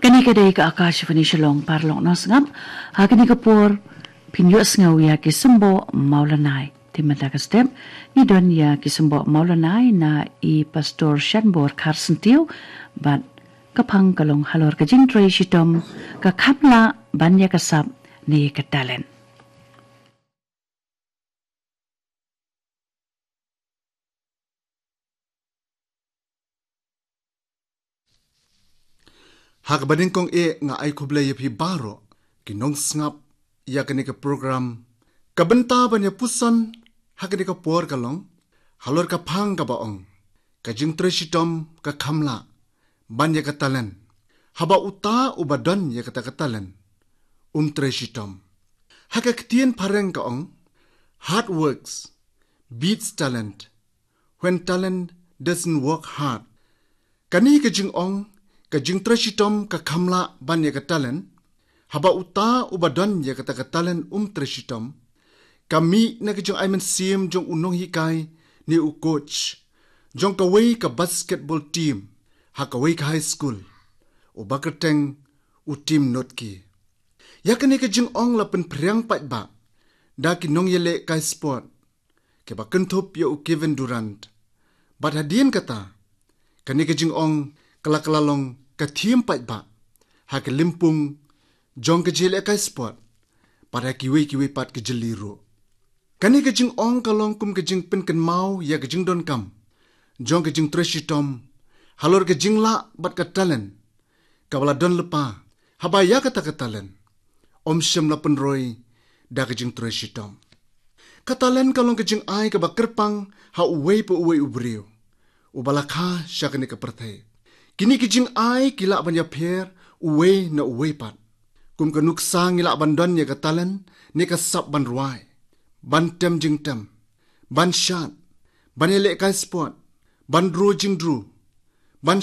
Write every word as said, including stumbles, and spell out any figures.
Kane ka dei ka Akashvani Shillong, paralok nongsngap. Ha kane ka por phin ïohsngew ïa ki symboh Mawlanai. Te mynta ka step ngi don ïa ki symboh Mawlanai na i Pastor Shanbor Kharsyntiew, bad ka phang ka long halor ka jingtrei shitom ka kham lah ban ïa ka sap ne ka talent. Ha kaba nyngkong eh nga ai khublei ïa phi baroh ki nongsngap ïa kane ka program. Ka bynta ban ïa puson ha kane ka por ka long halor ka phang kaba ong, ka jingtrei shitom ka kham lah ban ïa ka talent, haba uta uba don ïa kata ka talent um trei shitom. Ha ka ktien phareng ka ong, hard works beats talent when talent doesn't work hard. Kane ka jingong, ka jingtrei shitom ka kham lah ban ïa ka talent, haba uta uba don ïa kata ka talent um trei shitom, ka mih na ka jingai mynsiem jong u nonghikai ne u coach jong kawei ka basketball team ha kawei ka high school, uba kyrteng u Tim Noetke. Ïa kane ka jingong la pynphriang paidbah da ki nongïalehkai sport kiba kynthup ïa u Kevin Durant. Bad hadien kata, kane ka jingong ka la kylla long ka thiem paidbah ha ka lympung jong ka jingïalehkai sport, bad ha kiwei kiwei pat ki jylliew ruh. Kane ka jingong ka long kum ka jingpynkynmaw ïa ka jingdonkam jong ka jingtrei shitom halor ka jinglah bad ka talent kaba la don lypa, haba ïa kata ka talent ym shym la pynroi da ka jingtrei shitom. Ka talent ka long ka jingai kaba kyrpang ha uwei pa uwei u briew uba la kha sha kane ka pyrthei. Kine ki jingai ki lah ban ïapher uwei na uwei pat. Kum ka nuksa ngi lah ban don ïa ka talent ne ka sap ban rwai, ban tem jingtem, ban shad, ban ïalehkai sport, ban dro jingdro, ban